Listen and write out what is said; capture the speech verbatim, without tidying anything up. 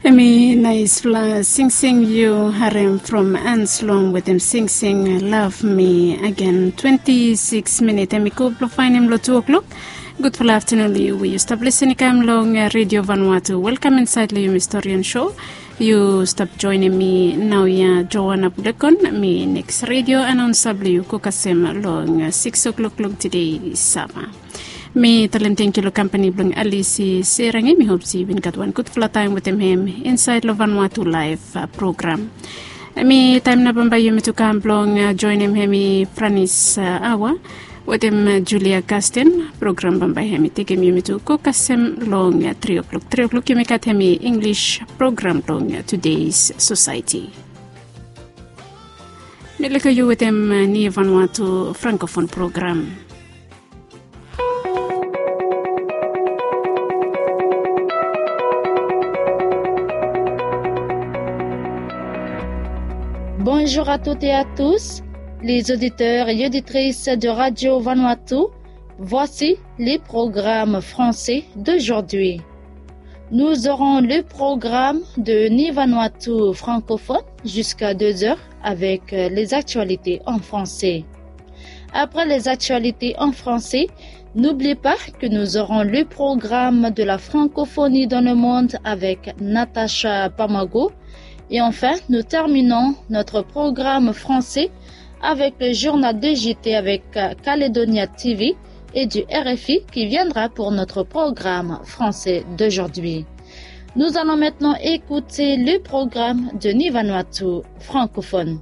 Em i naispela singsing yu harem from Anslom wetem singsing Love Me Again. Twenti sikis minit em i go blong faenem long tu o'klok. Gudfala aftanun long yu we yu stap lisin i kam long Redio Vanuatu. Welkam insaed long yumi storian sho. Yu stap joenem mi naoia, Joana Bulekon. Mi neks redio anaonsa blong yu go kasem long sikis o'klok long tede Sava. Mi talem tangkiu long kampani blong Alisi Serangi. Mi hop se yu bin gat wan gudfala taem wetem hem insaed long Vanuatu Laef program. Mi taem nao bambae yumi tu kam blong joenem hem i Franis Awa wetem Julia Kasten. Program bambae hem i tekem yumi tu go kasem long tri o'klok. Tri o'klok yumi gat hem i Inglis program blong Tudeis Sosaeti. Mi lukim yu wetem Ni Vanuatu Frankofon program. Bonjour à toutes et à tous, les auditeurs et auditrices de Radio Vanuatu. Voici les programmes français d'aujourd'hui. Nous aurons le programme de Ni Vanuatu francophone jusqu'à deux heures avec, euh, les actualités en français. Après les actualités en français, n'oublie pas que nous aurons le programme de la francophonie dans le monde avec Natacha Pamago. Et enfin, nous terminons notre programme français avec le journal de J T avec, euh, Calédonia T V et du R F I qui viendra pour notre programme français d'aujourd'hui. Nous allons maintenant écouter le programme de Ni Vanuatu francophone.